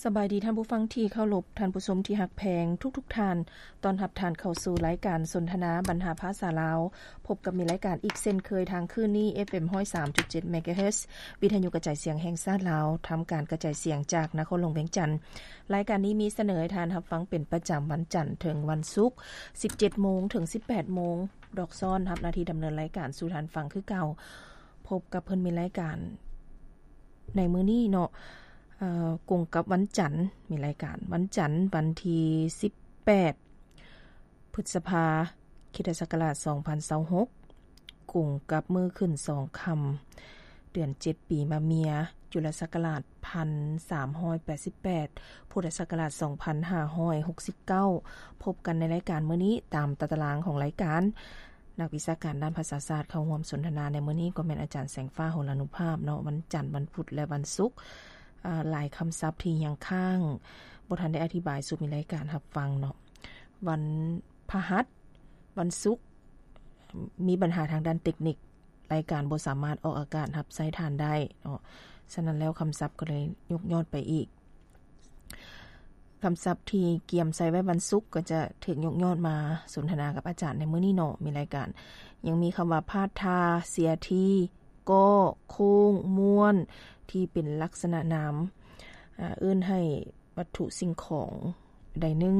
ສະບາຍດີທ່ານຜູ້ຟັງທີ່ເຄົາລົບ, ທ່ານຜູ້ຊົມທີ່ຮັກແພງທຸກໆທ່ານ. ຕ້ອນຮັບທ່ານເຂົ້າສູ່ລາຍການສົນທະນາບັນຫາພາສາລາວ. ພົບກັບມີລາຍການອີກເຊັ່ນເຄີຍທາງຄື້ນນີ້ ເອັຟເອັມຮ້ອຍສາມຈຸດເຈັດເມກາເຮີດ ວິທະຍຸກະຈາຍສຽງແຫ່ງຊາດລາວ, ທຳການກະຈາຍສຽງຈາກນະຄອນຫຼວງວຽງຈັນ. ລາຍການນີ້ມີສະເໜີໃຫ້ທ່ານຮັບຟັງເປັນປະຈຳວັນຈັນເຖິງວັນສຸກ ສິບເຈັດໂມງເຖິງສິບແປດໂມງ. ດອກຊ້ອນຮັບໜ້າທີ່ດຳເນີນລາຍການສູ່ທ່ານຟັງຄືເກົ່າ. ພົບກັບເພິ່ນມີລາຍການໃນມື້ນີ້ເນາະ, ເອີ ກົງກັບວັນຈັນ, ມີລາຍການວັນຈັນ ວັນທີສິບແປດ ພຶດສະພາ ຄຣິສຕະສັກກະລາດສອງພັນຊາວຫົກ, ກົງກັບມື້ຂຶ້ນສອງຄ່ຳ ເດືອນເຈັດ ປີມະເມຍ, ຈຸລະສັກກະລາດພັນສາມຮ້ອຍແປດສິບແປດ, ພຸດທະສັກກະລາດສອງພັນຫ້າຮ້ອຍຫົກສິບເກົ້າ. ພົບກັນໃນລາຍການມື້ນີ້ຕາມຕາຕະລາງຂອງລາຍການ. ນັກວິຊາການດ້ານພາສາສາດເຂົ້າຮ່ວມສົນທະນາໃນມື້ນີ້ກໍແມ່ນອາຈານແສງຟ້າ ຫົລານຸພາບເນາະ, ວັນຈັນ, ວັນພຸດ ແລະ ວັນສຸກ. ອາ, ຫຼາຍຄຳສັບທີ່ຍັງຄ້າງ ບໍ່ທັນໄດ້ອະທິບາຍສູ່ມີລາຍການຮັບຟັງເນາະ. ວັນພະຫັດ, ວັນສຸກ ມີບັນຫາທາງດ້ານເຕັກນິກ, ລາຍການບໍ່ສາມາດອອກອາກາດຮັບໃຊ້ທ່ານໄດ້ເນາະ. ສະນັ້ນແລ້ວຄຳສັບກໍເລີຍຍົກຍອດໄປອີກ. ຄຳສັບທີ່ກຽມໃສ່ໄວ້ວັນສຸກກໍຈະຖືກຍົກຍອດມາສົນທະນາກັບອາຈານໃນມື້ນີ້ເນາະ. ມີລາຍການ ຍັງມີຄຳວ່າ ພາດທ່າ, ເສຍທີ, ກໍ, ໂຄ້ງ, ມ້ວນ ທີ່ເປັນລັກສະນະນາມ ອາ ເອີ້ນໃຫ້ວັດຖຸສິ່ງຂອງໃດໜຶ່ງ.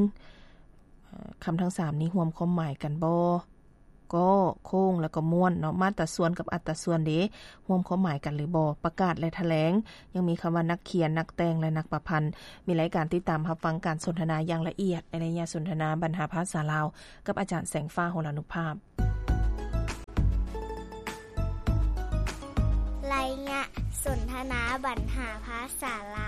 ອາ ຄຳທັງສາມນີ້ຮ່ວມຄວາມໝາຍກັນບໍ່? ກໍ, ໂຄ້ງ ແລ້ວກໍມ້ວນເນາະ. ມາດຕາສ່ວນກັບອັດຕາສ່ວນເດ ຮ່ວມຄວາມໝາຍກັນຫຼືບໍ່? ປະກາດ ແລະ ຖະແຫຼງ. ຍັງມີຄຳວ່ານັກຂຽນ, ນັກແຕ່ງ ແລະ ນັກປະພັນ. ມີລາຍການຕິດຕາມຮັບຟັງການສົນທະນາຢ່າງລະອຽດໃນໄລຍະສົນທະນາບັນຫາພາສາລາວ ກັບອາຈານແສງຟ້າ ຫົລານຸພາບ. ໄລຍະສົນທະນາບັນຫາພາສາລາວ.